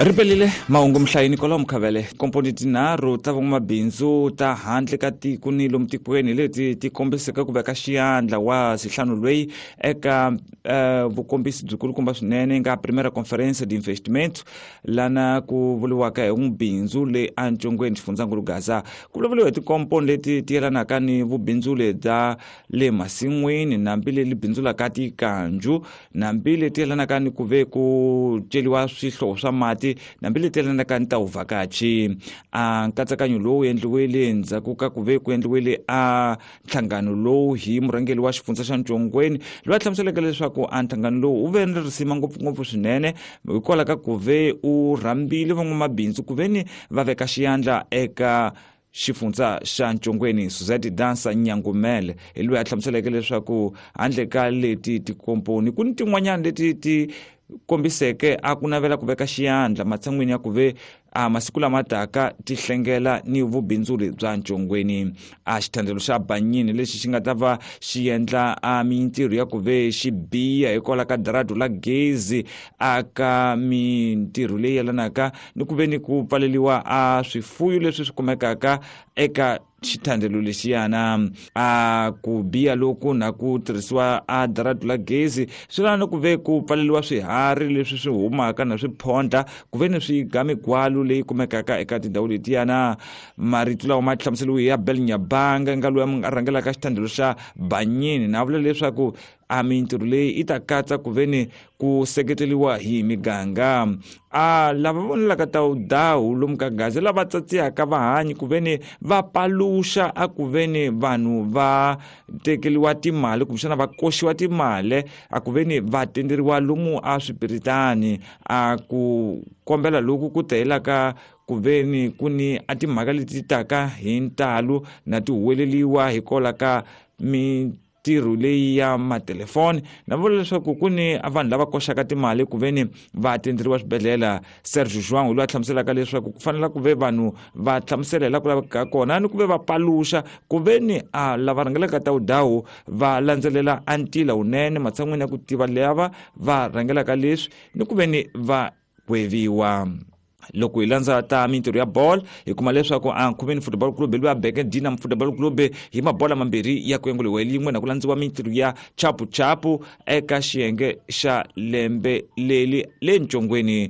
Ri pelile mahungu mhlayini kwalomu khavele. Komponi tinharhu ta van'wamabindzu ta handle ka tiko ni lomu tikweni leti ti kombiseke ku veka xiyandla wa sihlanu loyi eka vukombisi byikulukumba swinene nga Primera Conferência de Investimento lana ku vuriwaka hi n'wibindzu le eNcongweni xifundzankulu Gaza. Ku vulavuriwa hi tikomponi leti ti yelanaka ni vubindzuli bya le masin'wini nambi leli bindzulaka tikanju, nambi leti yelanaka ni ku ve ku celiwa swihlovo swa mati, nambi leti yelanaka ni ta vuvhakachi. A nkatsakanyo lowu endliwile endzhaku ka ku ve ku endliwile a nhlangano lowu hi murhangeri wa xifundza xa Ncongweni, loyi a hlamuseleke leswaku a nhlangano lowu wu ve ni risima ngopfungopfu swinene hikwalaho ka ku ve u rhambile van'wamabindzu ku ve ni va veka xiyandla eka xifundza xa Ncongweni. Suzette Dansa Nyangumele hi loyi a hlamuseleke leswaku handle ka leti tikomponi ku ni tin'wanyana leti ti kombiseke a ku navela ku veka xiyandla matshan'wini ya ku ve a masiku lama taka ti hlengela ni vubindzuri bya Ncongweni. A xithandelo xa Banyini lexi xi nga ta va xi endla a mintirho ya ku ve xi biha hikwalaho ka daradu la gezi aka mintirho leyi yelanaka ni ku ve ni ku pfaleliwa a swifuyo leswi swi kumekaka eka xithandelo lexiyana. A ku biha loku na ku tirhisiwa a daradu la gezi swi lava ni ku ve ku pfaleliwa swiharhi leswi swi humaka na swiphondla ku ve ni swi ga migwalu leyi kumekaka eka tindhawu letiyana. Marito lawa ma hlamuseriwe ya Bel Nyabanga nga loyi a rhangelaka xithandelo xa Banyini, na vula leswaku a mintirho leyi yi ta katsa ku ve ni ku seketeriwa hi miganga. A lava vonelaka ta wudawu lomu ka Gaza lava tsatsiyaka vahanyi ku ve ni va paluxa a ku ve ni vanhu va tekeriwa timali kumbexana va koxiwa timali a ku ve ni va tenderiwa lomu a swipiritani. A ku kombela loku ku tehelaka ku ve ni ku ni a timhaka leti taka hi ntalo na ti huweleliwa hikwalaho ka mintirho leyi ya matelefoni, na vula leswaku ku ni vanhu lava koxaka timali ku ve ni va tenderiwa swibedhlele. Sergio João loyi a hlamuselaka leswaku ku fanele ku ve vanhu va hlamusela hi laha ku lavekaka kona ni ku ve va paluxa ku ve ni a lava rhangelaka ta wudawu va landzelela a ntila wunene matshan'wini ya ku tiva lava va rhangelaka leswi ni ku ve ni va gweviwa. Loko hi landza ta mintirho ya bolo hi kuma leswaku a Nkhumeni Football Club loyi a beke Dinam Football Club hi mabola mambirhi ya ku yenguliwa hi lin'we na ku landziwa mintirho ya chapuchapu eka xiyenge xa lembe leli le Ncongweni.